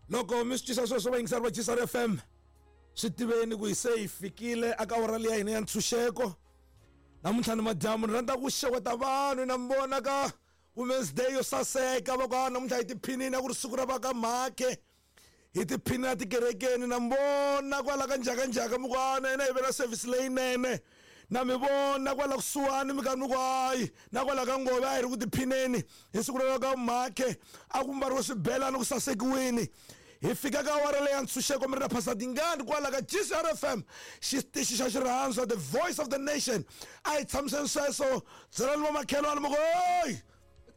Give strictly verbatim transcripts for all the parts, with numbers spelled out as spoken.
Loko mi swi twisa sweswo vayingiseri va G S R F M, swi tiveni ku hi se hi fikile aka awara leyi ya hina ya ntshunxeko. Namuntlha ni madyambu ni rhandza ku xeweta vanhu na mi vona ka Women's Day yo saseka, va ku, ah, namuntlha hi tiphinini, a ku ri siku ra va ka Mhakhe. Hi tiphinini tikerekeni, na mi vona kwala ka njhakanjhaka, mi ku, ah, na hina hi ve na service leyinene. Na mi vona kwala kusuhani, mi karhi mi ku, hayi, na kwala ka Ngove a hi ri ku tiphineni hi siku ra ka Mhakhe, a ku mbariwe swibelani ku sasekiwini. Hi fika ka awara leyi ya ntshunxeko, mi ri na Pastor Dingani kwala ka G S R F M, xitichi xa xirhandzu, the voice of the nation. A hi tshamiseni sweswo, byelani vamakhelwani mi ku, oyi,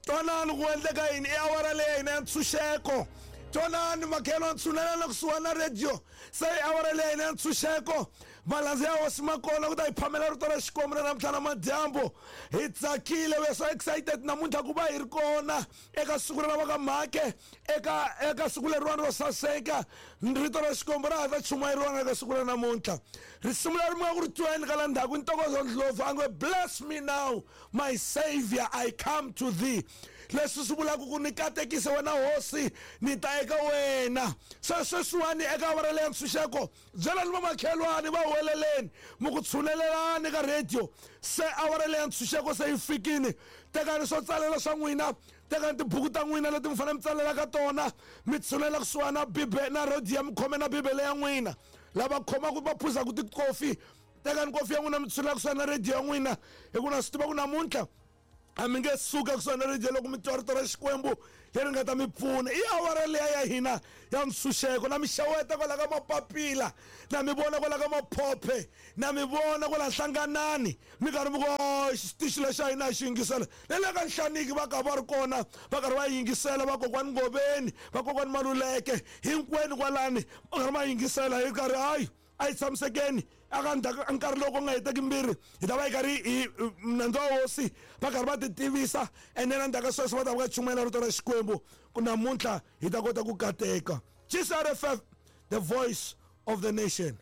twanani ku endleka yini, i awara leyi ya hina ya ntshunxeko. Twanani makhelwani, tshunelani kusuhani na radio, se i awara leyi ya hina ya ntshunxeko. Malandza ya hosi ma kona ku ta hi phamela rito ra Xikwembu na namuntlha na madyambu. Hi tsakile, we are so excited namuntlha ku va hi ri kona eka siku ra va ka Mhakhe, eka, eka siku leriwani ro saseka. Rito ra Xikwembu ra ha ta chumayeriwa eka siku ra namuntlha. Risimu leri mi nga ku ri tweni ka la ndzhaku i Ntokozo Ndlovu, a nge, Bless me now, my Savior, I come to thee. Leswi swi vulaka ku ni katekise wena hosi, ni ta eka wena. Se sweswiwani eka awara leyi ya ntshunxeko, byelani vamakhelwani va huweleleni, mi ku tshunelelani ka radio. Se awara leyi ya ntshunxeko se yi fikile. Tekani swo tsalela swa n'wina, tekani tibuku ta n'wina leti mi fanele mi tsalela ka tona, mi tshunela kusuhani na Bibe, na radio ya mi khome na Bibele ya n'wina. Lava khomaka va phuzaka tikofi, tekani kofi ya n'wina mi tshunela kusuhani na radio ya n'wina, hi ku na swi tiva ku namuntlha a mi nge suka kusuhani na radio loko mi twa rito ra Xikwembu leri nga ta mi pfuna. I awara liya ya hina ya ntshunxeko. Na mi xeweta kwala ka mapapila, na mi vona kwala ka maphophe, na mi vona kwala Hlanganani, mi karhi mi ku, oh, xitichi lexi xa hina hi xi yingisela. Na le ka Nhlaniki va ka va ri kona, va karhi va yingisela, vakokwani Ngoveni, vakokwani Maluleke, hinkwenu kwalani va karhi va yingisela. Hi karhi, hayi, a hi tshamisekeni aka ndzhaku nkarhi loko nga heteki mbirhi, hi ta va hi karhi hi nandzu wa hosi va karhi va ti tivisa, ene na ndzhaku ka sweswo va ta va ka chumayela rito ra Xikwembu ku namuntlha hi ta kota ku kateka. G S R F M, the voice of the nation.